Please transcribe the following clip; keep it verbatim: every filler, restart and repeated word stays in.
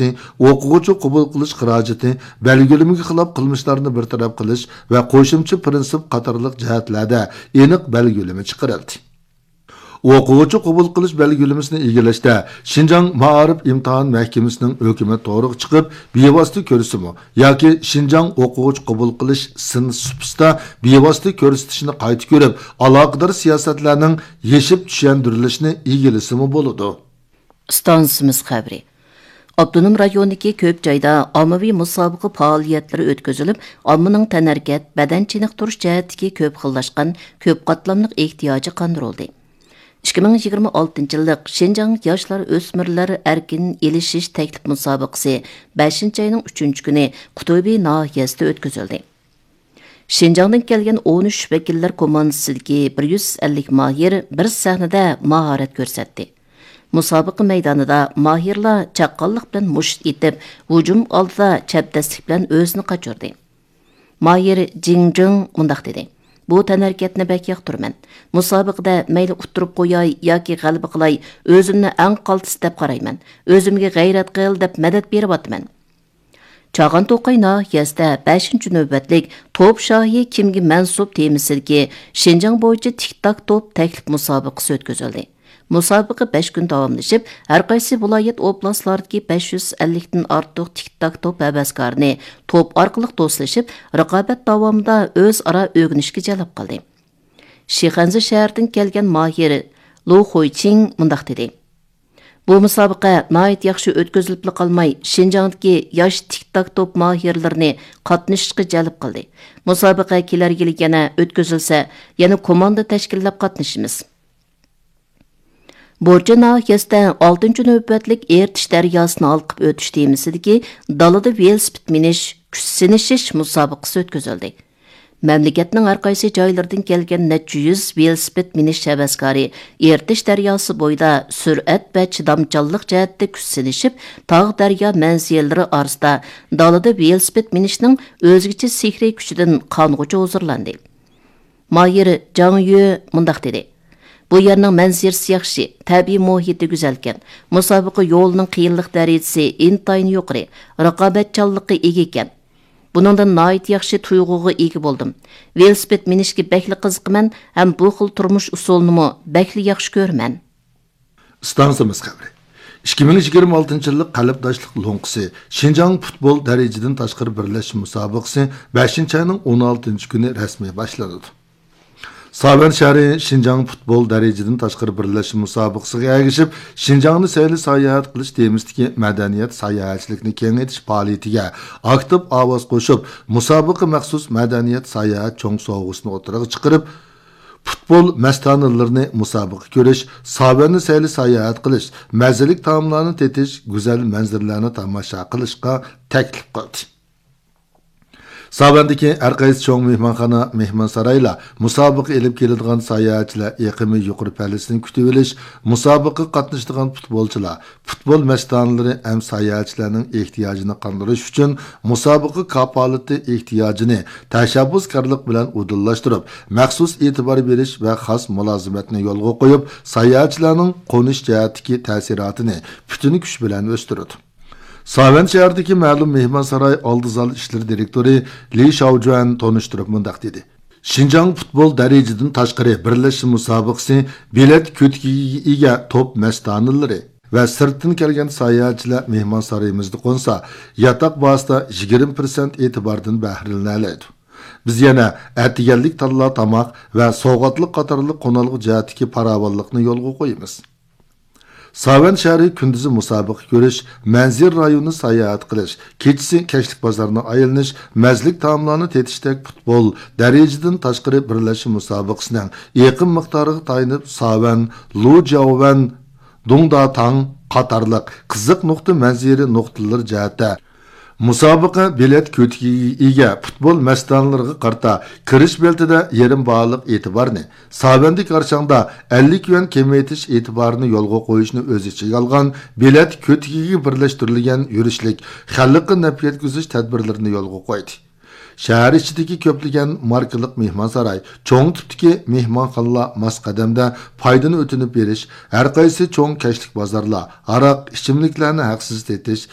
ئوقۇغۇچى قوبۇل قىلىش خىراجىتى، بەلگىلىمىگە خىلاپ قىلمىشلارنى بىر تەرەپ قىلىش ۋە قوشۇمچە پىرىنسىپ قاتارلىق جەھەتلەردە ئېنىق بەلگىلىمە چىقىرىلدى. ئوقۇغۇچى قوبۇل قىلىش بەلگىلىمىسىنى ئىگىلەشتە شىنجاڭ مائارىپ ئىمتىھان مەھكىمىسىنىڭ ھۆكۈمەت تورىغا چىقىپ، بىۋاسىتە كۆرسىتىمۇ ياكى شىنجاڭ ئوقۇغۇچى قوبۇل قىلىش سىن سۇپىسىدا بىۋاسىتە كۆرسىتىشنى قايتا كۆرۈپ، ئالاقىدار سىياسەتلەرنىڭ يېشىپ چۈشەندۈرۈلۈشىنى ئىگىلىسىمۇ بولىدۇ. ئىستانسىمىز خەۋىرى. ئاپتونوم رايوندىكى كۆپ جايدا ئاممىۋى مۇسابىقە پائالىيەتلىرى ئۆتكۈزۈلۈپ، ئاممىنىڭ تەنھەرىكەت، بەدەن چېنىقتۇرۇش جەھەتتىكى كۆپ خىللاشقان، كۆپ قاتلاملىق ئېھتىياجى قاندۇرۇلدى. ئىككى مىڭ يىگىرمە ئالتىنچى يىللىق شىنجاڭ ياشلار ئۆسمۈرلەر ئەركىن ئېلىشىش تەكلىپ مۇسابىقىسى بەشىنچى ئاينىڭ ئۈچىنچى كۈنى قۇتۇبى ناھىيەسىدە ئۆتكۈزۈلدى. شىنجاڭدىن كەلگەن ئون ئۈچ ۋەكىللەر كوماندىسىدىكى بىر يۈز ئەللىك ماھىر بىر سەھنىدە ماھارەت كۆرسەتتى. مۇسابىقە مەيدانىدا ماھىرلار چاققانلىق بىلەن مۇشت ئېتىپ، ھۇجۇم ئالدىدا چەبدەسلىك بىلەن ئۆزىنى قاچۇردى. ماھىر جىڭ جىڭ مۇنداق دېدى: «بۇ تەنھەرىكەتنى بەك ياقتۇرىمەن. مۇسابىقىدە مەيلى ئۇتتۇرۇپ قوياي ياكى غەلىبە قىلاي، ئۆزۈمنى ئەڭ قالتىس دەپ قارايمەن. ئۆزۈمگە غەيرەت قىل دەپ مەدەت بېرىۋاتىمەن.» چاغان توقاي ناھىيەسىدە بەشىنچى نۆۋەتلىك توپ شاھى كىمگە مەنسۇپ تېمىسىدىكى شىنجاڭ بويىچە تىك تاك توپ تەكلىپ مۇسابىقىسى ئۆتكۈزۈلدى. مۇسابىقە بەش كۈن داۋاملىشىپ، ھەر قايسى ۋىلايەت ئوبلاستلاردىكى بەش يۈز ئەللىكتىن ئارتۇق تىك تاك توپ ھەۋەسكارىنى توپ ئارقىلىق دوستلىشىپ، رىقابەت داۋامىدا ئۆزئارا ئۆگىنىشكە جەلپ قىلدى. شىخەنزە شەھىرىدىن كەلگەن ماھىر لۇ خۇيچىڭ مۇنداق دېدى: «بۇ مۇسابىقە ناھايىتى ياخشى ئۆتكۈزۈلۈپلا قالماي، شىنجاڭدىكى ياش تىك تاك توپ ماھىرلىرىنى قاتنىشىشقا جەلپ قىلدى. مۇسابىقە كېلەر يىلى يەنە ئۆتكۈزۈلسە، يەنە كوماندا تەشكىللەپ قاتنىشىمىز.» بورچى ناھىيەسىدە ئالتىنچى نۆۋەتلىك ئېرتىش دەرياسىنى ھالقىپ ئۆتۈش تېمىسىدىكى دالىدا ۋېلىسىپىت مىنىش، كۈچ سىنىشىش مۇسابىقىسى ئۆتكۈزۈلدى. مەملىكەتنىڭ ھەر قايسى جايلىرىدىن كەلگەن نەچچە يۈز ۋېلىسىپىت مىنىش ھەۋەسكارى ئېرتىش دەرياسى بويىدا سۈرئەت ۋە چىدامچانلىق جەھەتتە كۈچ سىنىشىپ، تاغ دەريا مەنزىرىلىرى ئارىسىدا دالىدا ۋېلىسىپىت مىنىشنىڭ ئۆزگىچە سېھرىي كۈچىدىن قانغۇچە ھۇزۇرلاندى. ماھىر جاڭ يۈ مۇنداق دېدى: «بۇ يەرنىڭ مەنزىرىسى ياخشى، تەبىئىي مۇھىتى گۈزەلكەن. مۇسابىقە يولىنىڭ قىيىنلىق دەرىجىسى ئىنتايىن يۇقىرى، رىقابەتچانلىققا ئىگە ئىكەن. بۇنىڭدىن ناھايىتى ياخشى تۇيغۇغا ئىگە بولدۇم. ۋېلىسىپىت مىنىشكە بەكلا قىزىقىمەن ھەم بۇ خىل تۇرمۇش ئۇسۇلىنىمۇ بەكلا ياخشى كۆرىمەن.» ئىستانسىمىز خەۋىرى. ئىككى مىڭ يىگىرمە ئالتىنچى يىللىق قەلبداشلىق لوڭقىسى شىنجاڭ پۇتبول دەرىجىدىن تاشقىرى بىرلەشمە مۇسابىقىسى بەشىنچى ئاينىڭ ئون ئالتىنچى كۈنى رەسمىي باشلىنىدۇ. ساۋەن شەھىرى شىنجاڭ پۇتبول دەرىجىدىن تاشقىرى بىرلەشمە مۇسابىقىسىغا ئەگىشىپ، شىنجاڭنى سەيلە ساياھەت قىلىش تېمىسىدىكى مەدەنىيەت ساياھەتچىلىكنى كېڭەيتىش پائالىيىتىگە ئاكتىپ ئاۋاز قوشۇپ، مۇسابىقە مەخسۇس مەدەنىيەت ساياھەت چوڭ سوۋغىسىنى ئوتتۇرىغا چىقىرىپ، پۇتبول مەستانىلىرىنى مۇسابىقە كۆرۈش، ساۋەننى سەيلە ساياھەت قىلىش، مەززىلىك تائاملارنى تېتىش، گۈزەل مەنزىرىلەرنى تاماشا قىلىشقا تەكلىپ قىلدى. ساۋەندىكى ھەر قايسى چوڭ مېھمانخانا، مېھمانسارايلار مۇسابىقە ئېلىپ كېلىدىغان ساياھەتچىلەر ئېقىمى يۇقىرى پەللىسىنى كۈتۈۋېلىش، مۇسابىقىگە قاتنىشىدىغان پۇتبولچىلار، پۇتبول مەستانىلىرى ھەم ساياھەتچىلەرنىڭ ئېھتىياجىنى قاندۇرۇش ئۈچۈن مۇسابىقە كاپالىتى ئېھتىياجىنى تەشەببۇسكارلىق بىلەن ئۇدۇللاشتۇرۇپ، مەخسۇس ئېتىبار بېرىش ۋە خاس مۇلازىمەتنى يولغا قويۇپ، ساياھەتچىلەرنىڭ قونۇش جەھەتتىكى تەسىراتىنى پۈتۈن كۈچ بىلەن ئۆستۈرىدۇ. ساۋەن شەھىرىدىكى مەلۇم مېھمانساراي ئالدى زال ئىشلىرى دىرېكتورى لى شاۋجۈەن تونۇشتۇرۇپ مۇنداق دېدى: «شىنجاڭ پۇتبول دەرىجىدىن تاشقىرى بىرلەشمە مۇسابىقىسى بېلەت كۆتىكىگە ئىگە توپ مەستانىلىرى ۋە سىرتتىن كەلگەن ساياھەتچىلەر مېھمانسارىيىمىزدا قونسا، ياتاق باھاسىدا يىگىرمە پىرسەنت ئېتىباردىن بەھرىلىنەلەيدۇ. بىز يەنە ئەتىگەنلىك تاللا تاماق ۋە سوۋغاتلىق قاتارلىق قونالغۇ جەھەتتىكى پاراۋانلىقنى يولغا قويىمىز.» ساۋەن شەھىرى كۈندۈزى مۇسابىقە كۆرۈش، مەنزىرە رايونىنى ساياھەت قىلىش، كېچىسى كەچلىك بازارنى ئايلىنىش، مەززىلىك تائاملارنى تېتىشتەك پۇتبول دەرىجىدىن تاشقىرى بىرلەشمە مۇسابىقىسىنىڭ ئېقىم مىقدارىغا تايىنىپ، ساۋەن، لۇجياۋەن، دۇڭداتاڭ قاتارلىق قىزىق نۇقتا مەنزىرە نۇقتىلىرى جەھەتتە مۇسابىقە بېلەت كۆتىكىگە ئىگە پۇتبول مەستانىلىرىغا قارىتا كىرىش بېلىتىدە يېرىم باھالىق ئېتىبارنى، ساۋەندىكى ئارشاڭدا ئەللىك يۈەن كېمىيىتىش ئېتىبارىنى يولغا قويۇشنى ئۆز ئىچىگە ئالغان بېلەت كۆتىكىگە بىرلەشتۈرۈلگەن يۈرۈشلۈك خەلققە نەپ يەتكۈزۈش تەدبىرلىرىنى يولغا قويدى. شەھەر ئىچىدىكى كۆپلىگەن ماركىلىق مېھمانساراي، چوڭ تىپتىكى مېھمانخانىلار ماس قەدەمدە پايدىنى ئۆتۈنۈپ بېرىش، ھەرقايسى چوڭ كەچلىك بازارلار ھاراق، ئىچىملىكلەرنى ھەقسىز سېتىش،